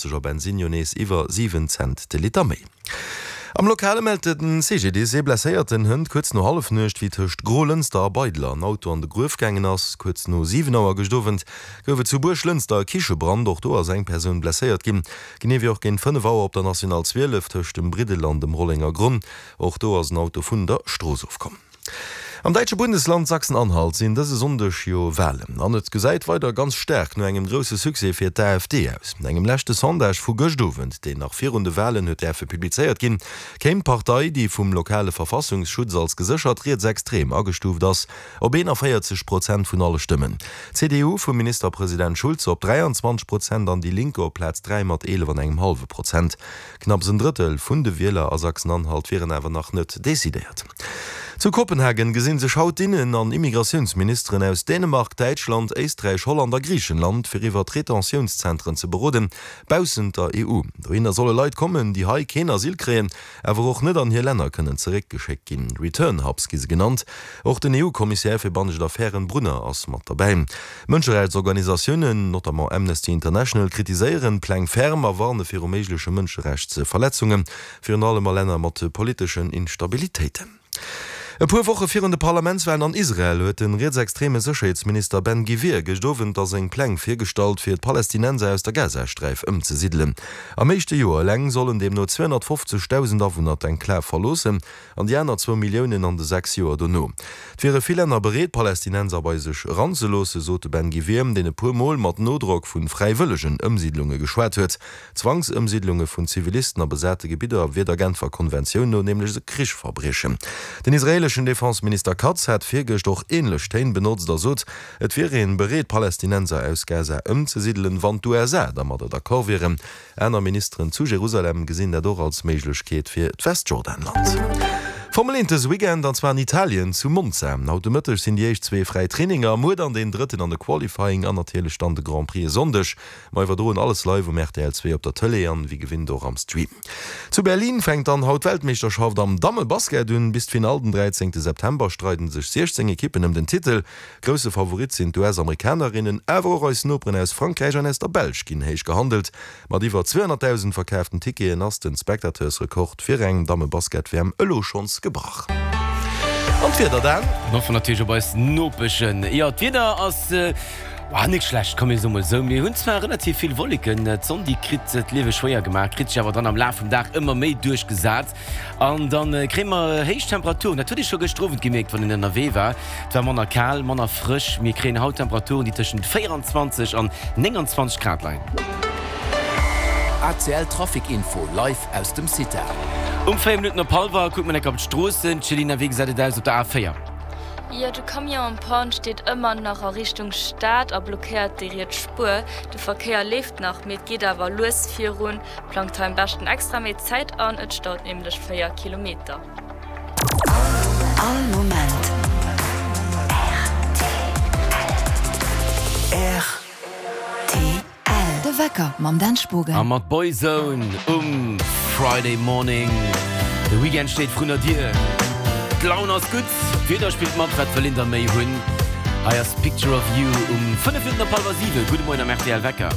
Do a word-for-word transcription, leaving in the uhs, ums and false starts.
a Bensinn jo nees iwwer siwen Cent de Liter méi. Am Lokale mellt de C G D S ee Blesséierten hënt kuerz no Hallefnuecht, wéi tëscht Grolënster a Beidler en Auto an de Gruef gaangen ass. Kuerz no siwen Auer gëscht Owend gouf et zu Buerglënster e Kichebrand, och do ass eng Persoun blesséiert ginn. Genee wéi och géint fënnef Auer op der National zwielef tëscht dem Briddel an dem Rollengergronn, och do ass en Auto vun der Strooss ofkomm. Am däitsche Bundesland Sachsen-Anhalt sinn dëse Sonndeg jo Walen an et gesäit weider ganz staark no engem grousse Succès fir d'A F D aus. No engem leschte Sondage vu gëscht Owend, deen nach virun de Walen huet däerfe publizéiert ginn, kéim d'Partei, déi vum lokale Verfassungsschutz als geséchert rietsextrem agestuuft ass, op eenanvéierzeg Prozent vun alle Stëmmen. D'C D U vum Ministerpresident Schulz op dräianzwanzeg Prozent an Die Linke op Plaz dräi mat eelef an engem hallwe Prozent. Knapps en Drëttel vun de Wieler a Sachsen-Anhalt wieren awer nach net decidéiert. Zu Kopenhagen gesinn sech haut d'Innen an Immigratiounsministeren aus Dänemark, Däitschland, Éisträich, Holland a Griichenland, fir iwwer Retentiounszentren ze beroden, baussent der E U. Dohinner solle Leit kommen, déi hei keen Asyl kréien, awer och net an hir Länner kënnen zeréckgeschéckt ginn. Return Hubs gi se genannt. Och den E U-Kommissär fir bannescht Affären Brunner ass mat derbäi. Mënscherechtsorganisatiounen, notamment Amnesty International, kritiséieren d'Pläng ferm a warne viru méigleche Mënscherechtsverletzungen, virun allem a Länner mat politeschen Instabilitéiten. E puer Woche virun de Parlamentswalen an Israel huet de rietsextreme Sécherheetsminister Ben Gvir gëscht Owend da seng Pläng virgestallt, fir d'Palästinenser aus der Gazasträif ëmzesidelen. Am éischte Joer eleng sollen deemno zweehonnertfofzegdausend Awunner d'Enklav verloossen an déi aner zwou Milliounen an de sechs Joer dono. Et wiere vill Länner bereet, Palästinenser bei sech eranzeloossen, sot de Ben Gvir, deen e puer Mol mat Nodrock vu fräiwëllegen Ëmsiidlunge geschwat huet. Zwangsëmsiidlunge vun Zivilisten a besate Gebidder wier der Genfer Konventioun no nämlech e Krichsverbriechen. Den israeeleschen Defenseminister Katz hat virgëscht och änlech Téin benotzt a sot, et wier ee bereet, Palästinenser aus Gaza ëmzesidelen, wann d'U S A dermadder d'accord wieren. Aner Ministeren zu Jerusalem gesinn dat och als Méiglechkeet fir d'Westjordanland. Formel eent dëse Weekend an zwar an Italien zu Monza. Haut de Mëtteg sinn déi éischt zwee fräi Traininger, muer dann deen drëtten an de Qualifying an natierlech dann de Grand Prix e Sonndeg. Mer iwwerdroen alles live um R T L zwee op der Tëlee an wéi gewinnt och am Stream. Zu Berlin fänkt dann haut d'Weltmeeschterschaft am Dammebasket un. Bis d'Finall den dräizéngte September streiden sech siechzéng Ekippen ëm den Titel. Grousse Favorit sinn d'U S-Amerikanerinnen, awer och eis Noperen aus Frankräich an aus der Belsch ginn héich gehandelt. Mat iwwer zweehonnertdausend verkaaften Ticketen ass de Spectateursrekord fir eng Dammebasket-W M elo schonns gebrach. An d'Wieder dann? Mir hoffen natierlech op eis Nopeschen. Jo, d'Wieder ass net schlecht, komm mir soe mol esou. Mir hunn zwar relativ vill Wolleken, d'Sonn déi kritt d'Liewe schwéier gemaach, kritt sech awer dann am Laf vum Dag ëmmer méi duerchgesat an da kréie mer héich Temperaturen. Dat huet ee scho gëschter Owend gemierkt, wann een ënnerwee war. Et war manner kal, manner frësch. Mir kréien haut Temperaturen, déi tëschent véieranzwanzeg an nénganzwanzeg Grad leien. A C L Trafic Info live aus dem CITA. Um véier Minutten op hallwer kucke mer enk op d'Stroossen. Céline, wéi gesäit et aus op der A véier? Jo, de Camion en panne steet ëmmer nach a Richtung Stad a blockéiert déi riets Spuer. De Verkéier leeft nach, mee et geet awer lues virun. Plangt hei am beschten extra méi Zäit an, et staut nämlech véier Kilometer. All Moment. R T L. De Wecker mam Dan Spogen. A mat Boyzone um Friday Morning. De Weekend steet vrun der Dier. D'Laun ass gutt, d'Wieder spillt mat, wat wëll een da méi hunn? Hei ass Picture of You um fënnef Minutten op hallwer siwen. Gudde Moien am R T L Wecker.